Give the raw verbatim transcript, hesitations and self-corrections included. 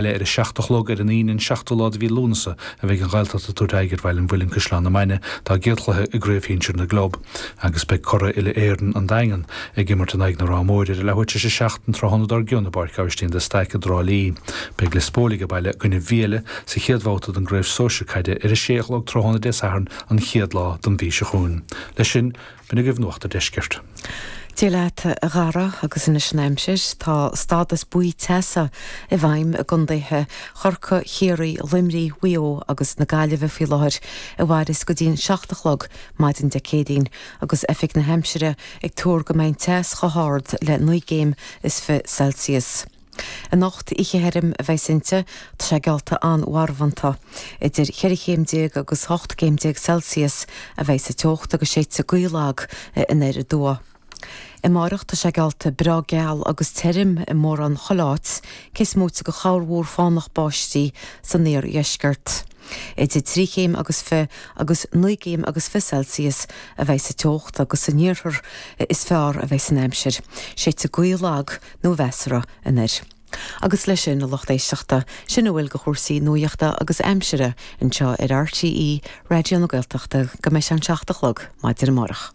Ar a seacht a chlog ar an Aoine an seachtú lá de mhí Lúnasa a bheidh an Ghaeltacht ag tabhairt aghaidh ar Bhaile an Mhuilinn Caisleán na Mainge dá gcéad chluiche i gCraobh Shinsir na gClub agus beidh curaidh uile-Éireann an Daingean ag imirt in aghaidh na Ráth Móire ar a leathuair tar éis a seacht an tráthnóna dár gcionn i bPáirc Aibhistín de Staic i dTrá Lí. Beidh Lios Póil ag baile i gcoinne Mhiele sa chéad bhabhta den gCraobh Sóisir Caide ar a sé a chlog tráthnóna Dé Sathairn an chéad lá den mhí seo chugainn. Leis sin, b'in agaibh Nuacht an Deiscirt. Dia leat a Dhara agus anois an aimsir tá stádas buí teasa i bhfeidhm i gcontaetha Chorcaí, Chiarraí, Luimnigh, Mhaigh Eo agus na Gaillimhe faoi láthair a mhairfeas go dtí an seacht a chlog maidin Dé Céadaoin agus Oifig na hAimsire ag tuar go mbeidh an teas chomh hard le naoi gcéim is fiche Celsius. Anocht oíche thirim a bheas inti, tá sé geallta an-mharbhánta. Idir cheithre chéim déag agus ocht gcéim déag Celsius a bheidh sa teocht agus séidfidh gaoth lag anoir aduaidh. Amárach tá sé geallta breá geal agus tirim i mórán chuile áit, cé is móite de chorrmhúr fánach báistí san iardheisceart. Idir trí chéim agus fiche agus naoi gcéim agus fiche Celsius a bheidh sa teocht agus san iarthar is fearr a bheidh an aimsir. Séidfidh gaoth lag nó mheasartha anoir. Agus leis sin a lucht éisteachta sin a bhfuil de chúrsaí nuachta agus aimsire anseo ar RTÉ Raidió na Gaeltachta go mbeidh sé an seacht a chlog maidin amárach.